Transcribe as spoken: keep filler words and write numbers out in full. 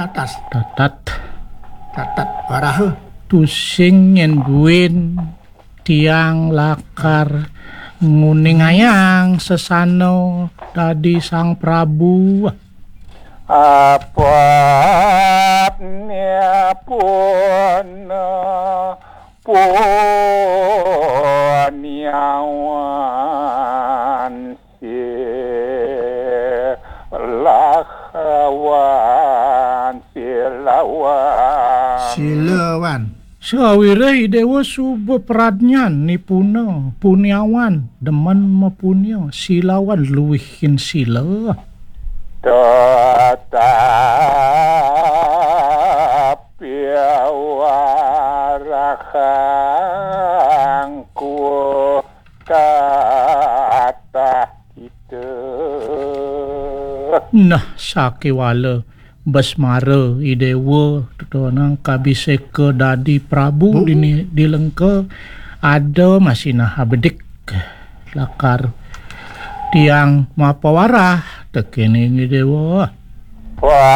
Atas. Tatat. Tatat waraha. Tusing nyen buin tiang lakar nguningayang sesana dadi Sang Prabu. Apatnya pun puniawan silawan, silawan. Sawireh Idewa suba pradnyan nipuna, puniawan, demen mapunia, silawan luihin sila. Tetapi warahangku tatah kita. Nah, sakiwala Besmara Idewa, tetonang kabiseka dadi Prabu Bu. Dini di Lengka, ada masih nah abedik lakar tiang mapawarah tekening Idewa. Wah.